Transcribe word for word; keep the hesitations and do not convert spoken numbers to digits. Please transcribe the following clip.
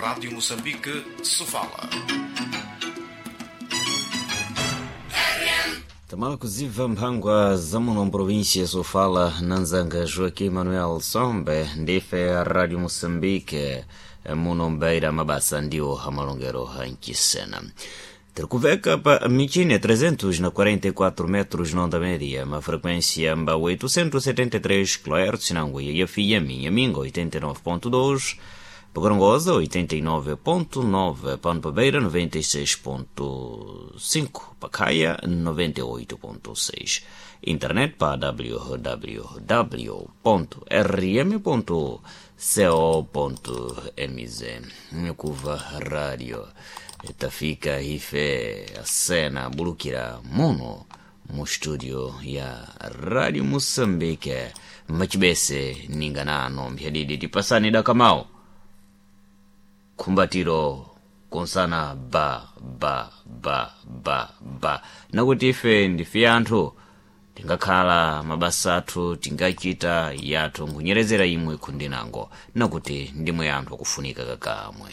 Rádio Moçambique, Sofala. Tamala kuziva mphangwa za muno mprovinsia ya Sofala na nzanga Joaquim Manuel Sombe ndife Radio Moçambique muno mbaira mabasa ndiwo amalongero ankisena tiri kuveka pa michine trezentos e quarenta e quatro metros na onda média, uma frequência mba oitocentos e setenta e três quilohertz na Angoia e F M, Minga oitenta e nove ponto dois, Gorongosa oitenta e nove ponto nove, Pampa Beira noventa e seis ponto cinco, Pacaia noventa e oito ponto seis. Internet para w w w ponto r m ponto co ponto m z. Nkuva rádio tafika ife asena bulukira muno mu studio ya Radio Moçambique machibese ninganano mphadidi tipasani dakamao khumbatiro konsana ba ba ba ba ba nakuti ife ndife anthu tingakhala mabasa athu tingachita yathu nkunyerezera imwe khundinango nakuti ndimwe anthu akufunika kakamwe.